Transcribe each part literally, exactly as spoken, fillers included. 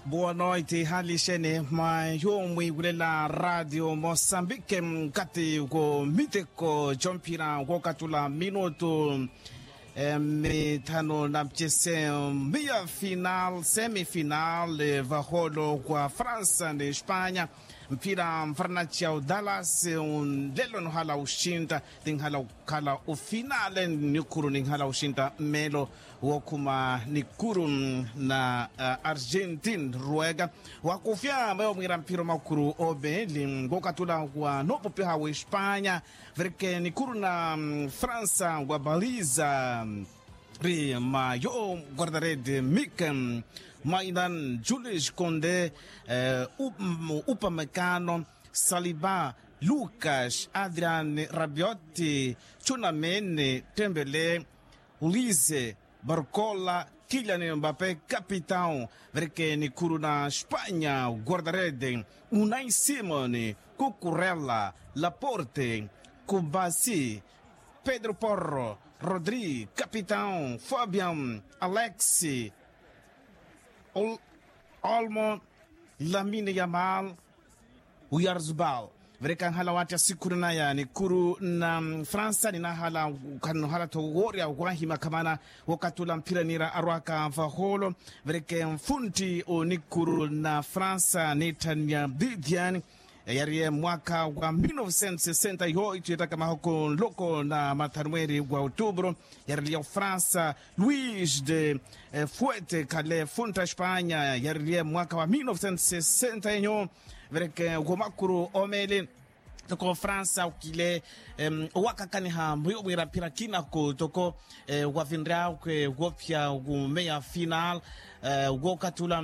Boa noite hali xene mwa yo mwiiwulela radio mosambike nkati wo miteko comphira wokatula minutu mithanu na mcese mia final semifinal vaholo wa fransa ni espanya. Mphira mfaranaci ya udalas nlelo nhala uxinta ninhala ukhala ufinale nikuru ninhala uxinta mmelo wokhuma nikuru na argentine ruega wakufya mayo mwira mphiro makuru obeli ngokatula wa nopopiha wa espanya. Verke nikuru na fransa wa baliza ri mayo guardarede mike mainan julius conde upamekano saliba lukas adrian rabioti chunamene tembele ulize barkola kilian mbape kapitao. Verke nikuru na espanya guardarede unai simoni kukurela laporte kubasi pedro porro rodri kapitao fabian alexi olmo lamine yamal uyarzbal. Vereka nhala wattya sikhuna naya nikuru na fransa ninahala khannuhala tho woorya wahima khamana wokatula mphira nira arwaka vaholo. Vereke mfuntti onikuru na fransa nitthanya didian yariye mwaka wa mil novecentos sesenta yoitu yetaka mahoko nloko na mathanumweri wa otubro yariliya ofransa luis de fuete khale funta espanya yariliye mwaka wa mil novecentos sesenta enyo. Vereke womakuru omele toko fransa ukile owakakaniha mwiyo mwira mphira kinaku toko wavinryakwe wopya wumeya final wokatula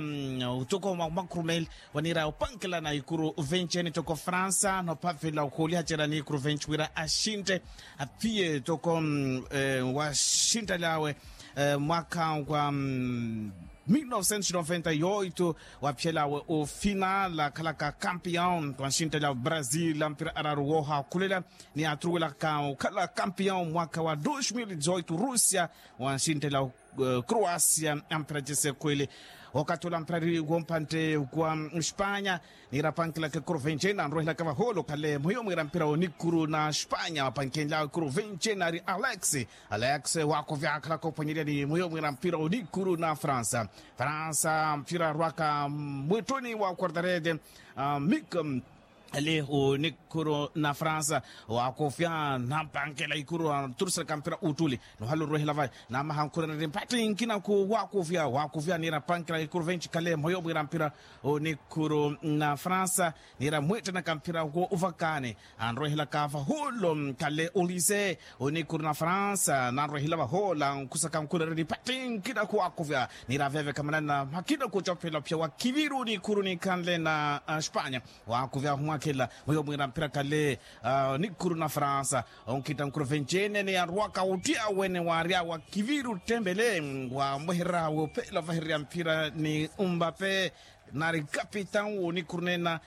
toko makurumeli wanira opankela na ikuru venceni toko fransa nopavela okholiha cela ni ikuru venci wira axinte aphiye toko waxintalyawe mwaka wa mil novecentos noventa yoitu waphiyelawe ofinal akhalaka kampion wanxintalyawe brasil ampira araru wohakhulela ni aturuwelaka okhala kampion mwaka wa dos mil dezoitu russia wanxintalyawe croacia ampira cese khwele. Okatula mpirari wompantte wa espanya nira apankilaka ekuru vencena anrohelaka vaholo khale mwiyo mwira mpira onikuru na espanya apankenlyawe ekuru vencena ari alex alex wakovyakhalaka ophwanyerya ni mwiyo mwira mpira onikuru na fransa fransa mpira arwaka mwittuni wa quartarede mik ali onikuru na fransa wakofya nampankela ikuru aturuselaka mpira uttuli nohala orwehela vayi namaha nkhurereri mpatthi nkinaku wakofya wakofya nira apankela ikuru venci khale mwiyo mwira mpira onikuru na fransa nira mwettenaka mpira wo ovakani anrohelaka vaholo khale olise onikuru na fransa nanrohela vaholo ankhusaka nkhurereri mpatthi nkinaku wakofya nira veveka manana mhakina kucophela ophiya wa kiviru nikuru nikhanle na espanya wakuvya humwakhela mwiyo mwira mpira khale nikuru na fransa onkhitta nkuru vencenene yarwaka ottya wene warya wa kiviru ttembele wamwehererya wophela ovahererya mpira ni umbape nari kapitan wonikuru nena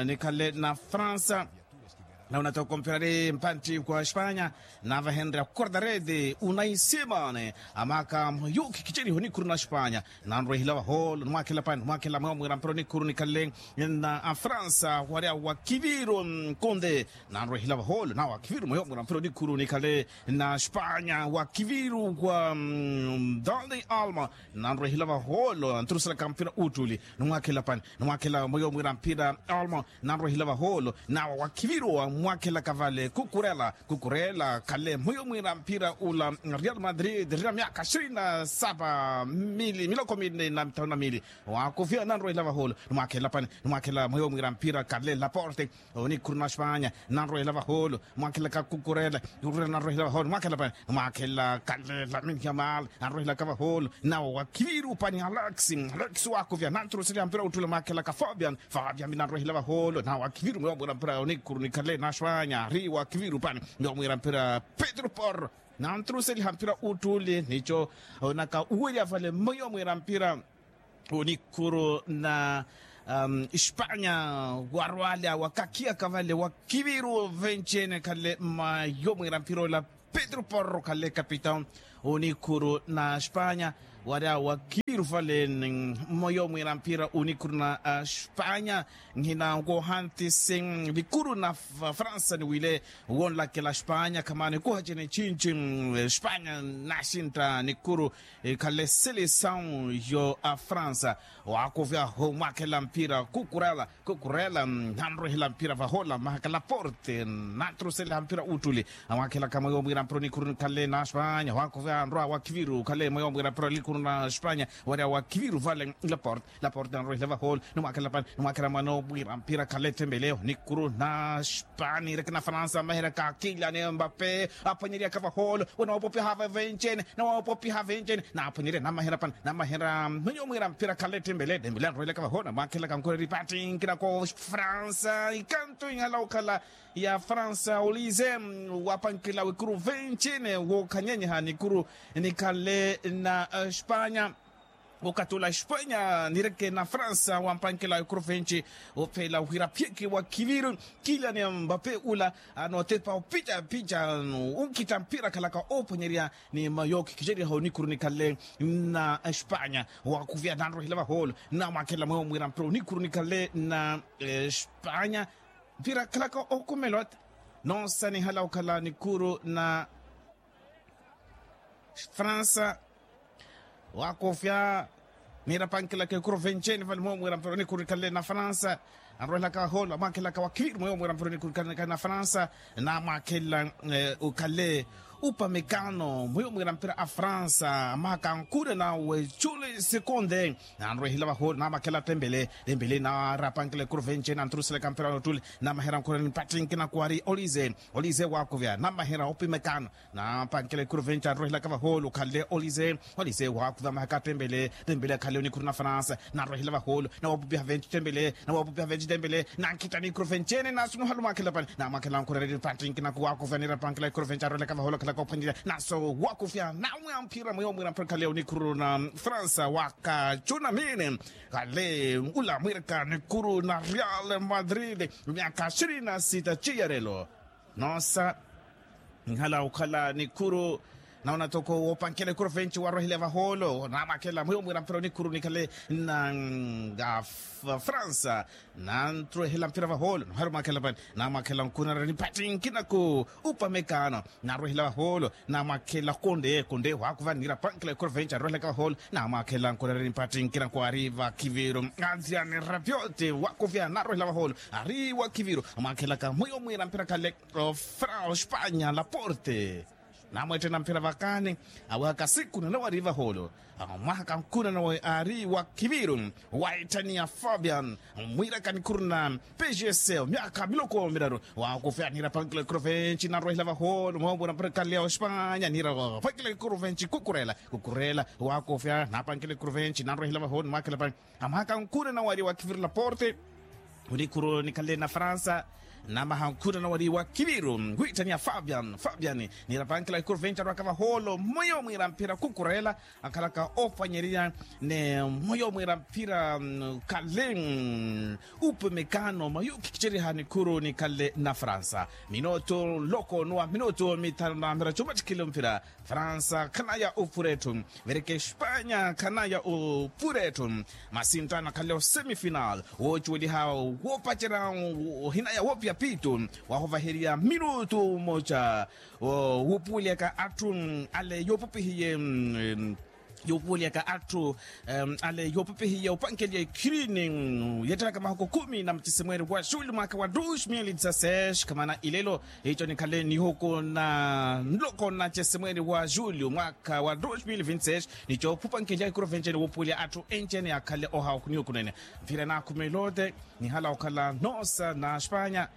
nikhale na fransa nauna toko mpirari mpantti kwa espanya navahenrya quartarede unai simone amaka mwayo khikhiceriho nikuru na espanya nanrwehila vaholo nimwakhela pani nimwakhela mwewa mwira mpira onikuru nikhale na afransa warya wa kiviru konde nanrwehila vaholo nawa kiviru mwewa mwira mpira onikuru nikhale na espanya wa kiviru kwa dani alma nanrwehila vaholo anturuselaka mpira uttuli nimwakhela pani nimwakhela mweyo mwira mpira alma nanrwehela vaholo nawa wakhiviru wamwakhelaka vale kukurela kukurela khale mwiyo mwira mpira ula real madrid rira myaka ishirini na saba mili miloko mili na mithanu na mili wakofya nanrwehela vaholo nimwakhela pani nimwakhela mwiyo mwira mpira khale laporte onikhuru na espanya nanrwehela vaholo mwakhelaka kukurela kukurela nanrwehela vaholo nimwakhela pani nimwakhela khale lamine yamal nanrwehelaka vaholo nawa wakhiviru pani alex alex wakofya nanturuselya mpira uttule mwakhelaka fabian fabian minanrohela vaholo na wakhiviru mwewa mwira mpira onikhuru nikhale na espanya ari wakhiviru pani mwewa mwira mpira pedro porro nanturuseliha mpira uttule nico onaka uwerya vale mwewa mwira mpira onikhuru na espanya warwalya wakakhiyaka vale wakhiviru venci ene khale mwewa mwira mpira ola pedro porro khale kapitan onikhuru na espanya warya wakhiviru vale mmoyo mwiira mpira unikhuru na spanya. Nhina nkohantisi nikuru na fransa niwile wonlakela spanya khamana nikuha cene cinci. Spanya nasintta nikuru ikhale selesawu yo fransa. Wakuvya humwakhela mpira kukurela kukurela nanrwehela mpira vahola mahaka laporte nantruseleha mpira uttuli. Amwakhelaka mweyo mwiira mpira onikhuru nikhale na spanya wakuvya nrwa wa khiviru khale mweyo mwiira mpira onikhuru na spanya. Wari awa khiviru vale laporte laporte nanrwehela vahola. Nimwakhela pani nimwakhela mwana omwiira mpira khale tembele onikhuru na spanya ireke na fransa maheraka kilian mbape aphwanyeryaka vahola wena wopopyaha vavencene. Nawawopopiha venjeni naphwanyerya namahera pana namahera mwenye omwiira mpira khale tembele tembele anrohelaka vahoona mwaakhelaka nkhureri pati nkina ko fransa ikantu ihala okhala ya fransa olize wapankela wekuru venjeni wookhanyenyeha nikuru nikhale na spanya. Okatula spanya nireke na fransa wampankela wekuru venji ophela wira phiyeke wa khiviru kilian mbape ula. Anotepa opica pica unkhitta mpira akhalaka oophwanyerya ni mayo khikhiceryaha onikuru nikhale na espanya. Wakuvya nanrohela vahoolo namwakhela mweyo mwira mpira onikuru nikhale na espanya. Mpira akhalaka okumela oti noosanihala okhala nikuru na fransa. Wakofya nira pankilaka ekuru venceni vale mweyo mwira mpira onikuru nikhale na fransa. Anrohelaka vahoolo amwakhelaka wa khiviri mweyo mwira mpira onikuru nikhale na fransa. Namwakhela ukhale upamekano mweyo mwira mpira a fransa amahaka ankure nawe juli sekonde. Nanrohela vahoolo namwakhela tembele tembele nara pankila ekuru venceni anturuselaka mpira ottuli. Namahera nkhurani mpattinkina kuwari olize olize wakuvya namahera opimekano. Napankela ekuru venci anrohelaka vahoolo khale olize olize wakuva mahaka tembele tembele khale onikhuru na fransa. Narohela vahoolo nawapupiha venci tembele nawapupiha venci tembele nankhitta nikuru vencene nasunuhalu mwakhela pani namwakhela nkhurereri pantinkina kuwakuva nira pankela ekuru venci anrohelaka vahoolo khalaka ophwanyerya naso wakufya nawe amphira mweyo mwira mphira khale onikhuru na fransa wakacunamine. Khale ula mwiraka nikuru na real madrid myaka shirini na sita ciyarelo. Noosa nhala okhala nikuru naona toko wopankela ekuru venci warohile vahoolo namwakhela mweyo mwira mpira onikuru nikhale na nga fransa. Nanrohela mpira vahoolo nohari mwakhela pani namwakhela nkunarani pati nkinaku upamekano. Narohela vahoolo namwakhela konde konde wakuva nira pankela ekuru venci arohelaka vahoolo. Namwakhela nkunarani pati nkinaku ari vakhiviru anziani rapiote wakuvya narohela vahoolo ari wakhiviru amwakhelaka mweyo mwira mpira khale. Fra ospanya laporte namwettena mphira vakani awehaka siku nanawe ari vahoolo. Amwahaka nkhuna nawe ari wa khiviru waitthaniya fabian mwiraka nikhuru na pgs myaka miloko miraru. Wakufya nira pankila ekuru venci nanrohela vahoolo mweyo mwira mpira khale ospanya nira pankila ekuru venci kukurela kukurela wakufya napankila ekuru venci nanrohela vahoolo mwakhela pani. Amwaka nkhuna nawe ari wa khiviru laporte onikhuru nikhale na fransa. Namaha nkhuna nawe ari wa khiviru wittaniya fabian fabian nira pankila ekuru venci arwaka vahoolo mweyo mwira mphira kukurela akhalaka ophwanyerya ni mweyo mwira mphira khale upemekano mayo khikhiceryaha nikhuru nikhale na fransa. Minutu nloko nuwa minutu mithanu na mphira cumattikhile mphira. Fransa khanaya opura etthu vereke espanya khanaya opura etthu. Masinttano akhale osemifinal woocuweliha woopacerya ohinaya woopiya piitu wahovaheriya minutu mmoja. Wuupuweliyaka atthu ale yoopupihiye yoopuweliyaka atthu ale yoopupihiye opankeliya ekhirini yeettelaka mahuku khumi na mucisimweeri wa juli mwaakha wa dos mil dezasseis khamana ilelo. Ico nikhale nihuku na nloko na cesimweeri wa julio mwaakha wa dos mil vinti seis. Nico phupankelya ikuru venceni wuupuwelya atthu enceni akhale ohawa nihuku nene. Mphira naakhumelote nihala okhala noosa na spanya.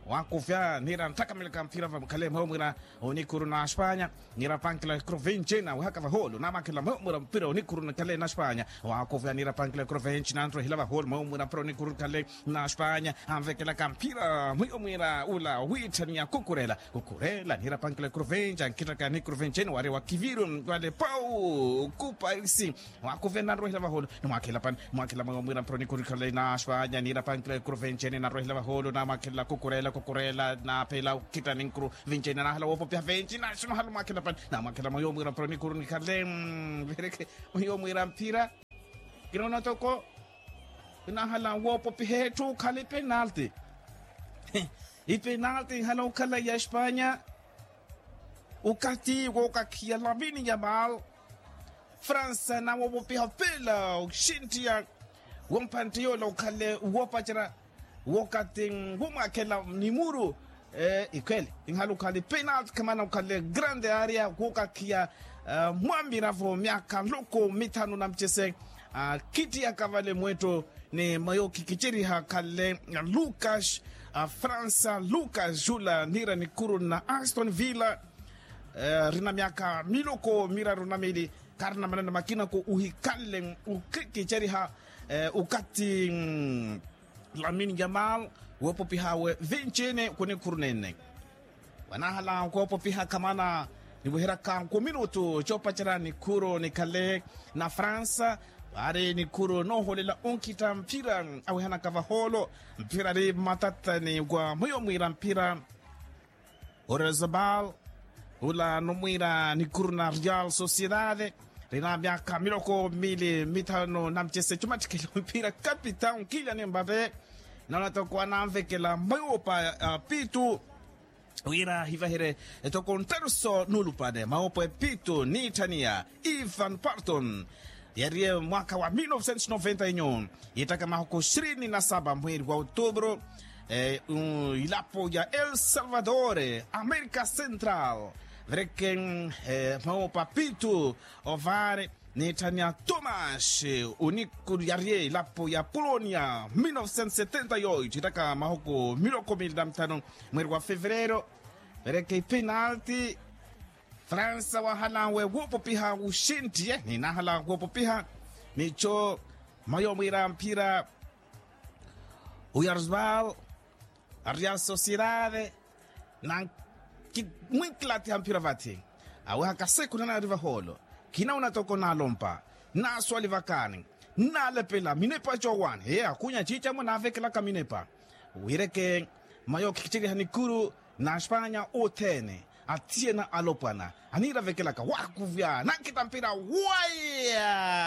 Wakufya nira nttakamelaka mphira vamukhale mweyo mwira onikuru na spanya. Nira pankela ikuru venceni awehaka vahoolo namwakhela mweyo mwira mpira onikuru nikhale na spanya. Wakufya nira pankela ikuru venci nanrohela vahoolo mweyo mwira mpira onikuru nikhale na spanya. Anvekelaka mpira mwiyo mwira ula wiitthaniya kukurela kukurela nira pankela ekuru venci ankhittaka nikuru venceni wari wa khiviru wale pau kupaisi. Wakuvya nanrohela vahoolo nimwakhela pani nimwakhela mwiyo mwira mpira onikuru nikhale na spanya nira pankela ekuru venceni nanrohela vahoolo namwakhela kukurela kukurela naphela okhitta ninkuru venceni nahala woopopiha venci nasunuhalu mwakhela pani. Namwakhela mwiyo mwira mpira onikuru nikhale vereke mwiyo mwira mpira Kinoona toko kinahala woopopiha etthu khala ipenalti. Ipenalti ihala okhala ya espanya. Ukati wookakhiya lamini ya mal fransa nawoopopiha pela oxintiya. Wompantte yoola okhale woopacerya wokati womwakhela ni muru. Ikhwele inhala okhale penalti khamana okhale grande area wookakhiya. Mwamiravo myakha nloko mithanu na mcese khittiyaka vale mwetto ni mayo khikiceriha khale. Lucas fransa lucas jula niira nikhuru na aston villa. Rina myakha miloko miraru na mili kharina maneno makina ko uhikanle ukhikiceriha. Ukati lamini ya mal woopopiha we vincini kunikhuru nene wanahala koopopiha khamana niweheryaka nkuminutu coopacerya nikhuru nikhale na fransa. Vaari nikhuru nooholela onkhitta mphira awehanaka vahoolo mphira ari mmatatani wa mwiyo mwiira mphira. Oresebal ula numwira nikhuru na real sociedade rina myakha miloko mili mithanu na mcese cumattikela omphira kapitau nkilya ni mbave. Nona toko ananvekela mayopa pitu wira hivaherye etoko nttaruso nuulupale mawopo epitu niitthaniya ivan parton. Yariye mwaakha wa mil novecentos noventa inyu yittaka mahuku ishirini na saba mweri wa otubru ilapo ya el salvador amerika central. Vereke mawopo apitu ovaare niitthaniya tomas uniku yariye ilapo ya polonia mil novecentos setenta yoitthu yittaka mahuku miloko mili na mithanu mweri wa fevereiro. Vereke ipenalti fransa wahala we woopopiha wuxintiye ninahala woopopiha nicho mayo mwiira mphira. Uyarzbal a real sociedade na mwinkilattiha mphira vathi aweha kaseku nanari vahoolo kinauna toko naalompa naaswali vakani nnalepela minepa coowani ee akhunya ciicamo naavekelaka minepa. Wireke mayo khikiceriha nikuru na espanya othene athiyena alopwana aniiravekelaka waakuvya nankhitta mpira waya.